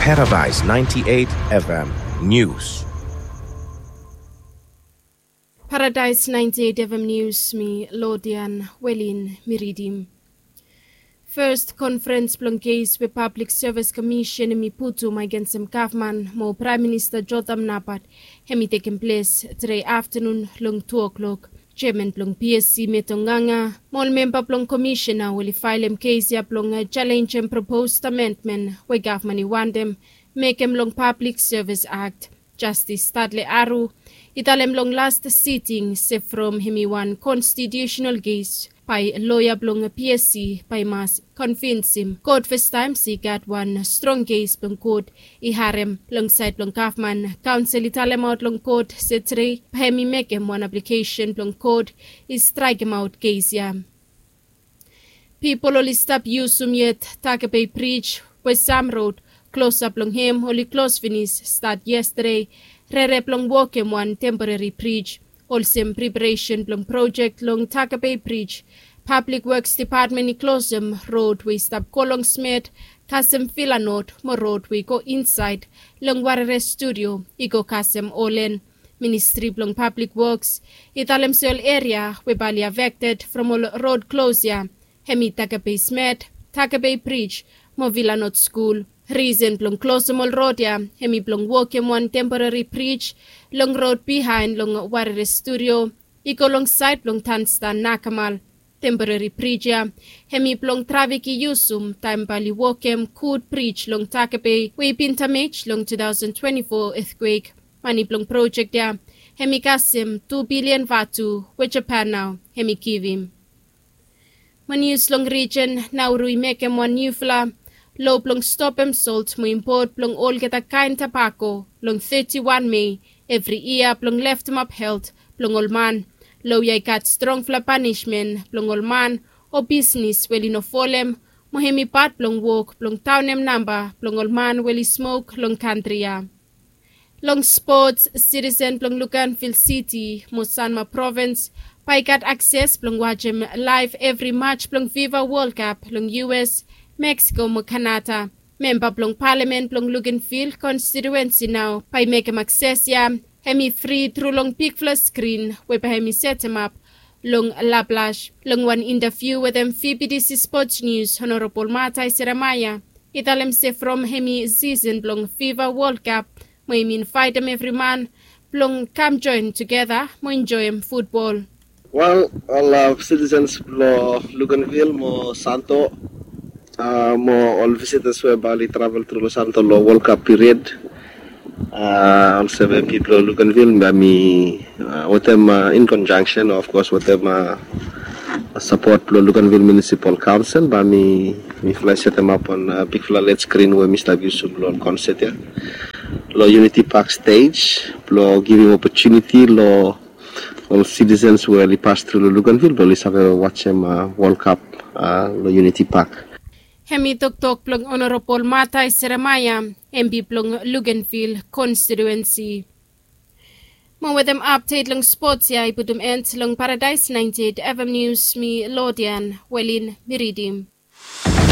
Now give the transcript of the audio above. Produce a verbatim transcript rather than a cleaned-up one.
Paradise ninety-eight F M News. Paradise ninety-eight F M News, mi Lodian Welin mi ridim. Fes konfrens blong kes we Pablik Sevis Komisen hem i putum agensem gavman mo Praem Minista Jotham Napat hem i tekem ples tede aftanun long tu o'klok. Jeaman blong P S C Meto Nganga mo ol memba blong komisena oli faelem kes ya blong jalenjem propos amendmen we gavman i wantem mekem long Pablik Sevis Akt. Jastis Tadle Aru i talem long las siting se from hem i wan konstitiusenal kes bae loea blong P S C bae i mas konvinsim kot fastaem se i gat wan strong kes blong kot i harem. Long saed blong gavman, kaonsel i talemaot long kot se tede bae hem i mekem wan aplikesen blong kot i straekemaot kes ya. Pipol oli stap yusum yet Takape Brij we sam rod klosap blong hem oli klos finis stat yestade, rere blong wokem wan temporeri brij. Olsem preparesen blong projek long Takape Brij, Pablik Woks Depatmen i klosem rod we i stap go long Smet kasem Vilanot mo rod we i go insaed long Warere Studio i go kasem Olen. Ministri blong Pablik Woks i talem se ol eria we bae oli afekted from ol rod klos ya hem i Takape Smet, Takape Brij mo Vilanot Skul. Risen blong klosem ol rod ya hem i blong wokem wan temporeri brij long rod bihaen long Warere Studio i go long saed blong Tanstan Nakamal. Temporeri brij ya hem i blong trafik i yusum taem bae oli wokem gud brij long Takape we i bin damej long two thousand twenty-four etkwek. Mane blong projek ya hem i kasem tu bilian vatu we Japan nao hem i givim. Mo nius long rijen, Nauru i mekem wan niufala loa blong stopem solt mo impot blong olgeta kaen tobako long teti wan Mei evri yia blong leftemap helt blong ol man. Loa ya i gat strongfala panismen blong ol man o bisnis we oli no folem, mo hem i pat blong wok blong daonem namba blong ol man we oli smok long kantri ya. Long spots, sitisen blong Luganville City mo Sanma Provins bae i gat akses blong wajem laef evri maj blong Fifa Wol Kap long U S, Meksiko mo Kanada. Memba blong palamen blong Luganville konstitiuensi nao bae i mekem akses ya hem i fri tru long bigfala skrin we bae hem i setemap long Lablash. Long wan intaviu wetem V B T C Sports News, Honorabol Matai Seremaia i talem se from hem i sisen blong Fifa Wol Kap mo hem i invaetem evri man blong kam joen tugeta mo enjoem futbol. Wel, ol sitisens blong Luganville mo Santo mo ol visitas we bae oli travel tru long Santo long Wol Kap piriod, olsem M P blong Luganville bae mi wetem in konjangsen, of kos, wetem sapot blong Luganville Munisipal Kaonsel bae mi, mifala i setemap wan bigfala led skrin we mi stap yusum long ol konset ya long Unity Park stej blong givim opotuniti long ol sitisens we oli pas tru long Luganville blong oli save wajem Wol Kap long Unity Park. Hem i toktok blong Honorabol Matai Seremaia, M P blong Luganville konstitiuensi. Mo wetem apdet long spots ya i putum en long Paradise ninety-eight F M News, mi Lodian Welin mi ridim.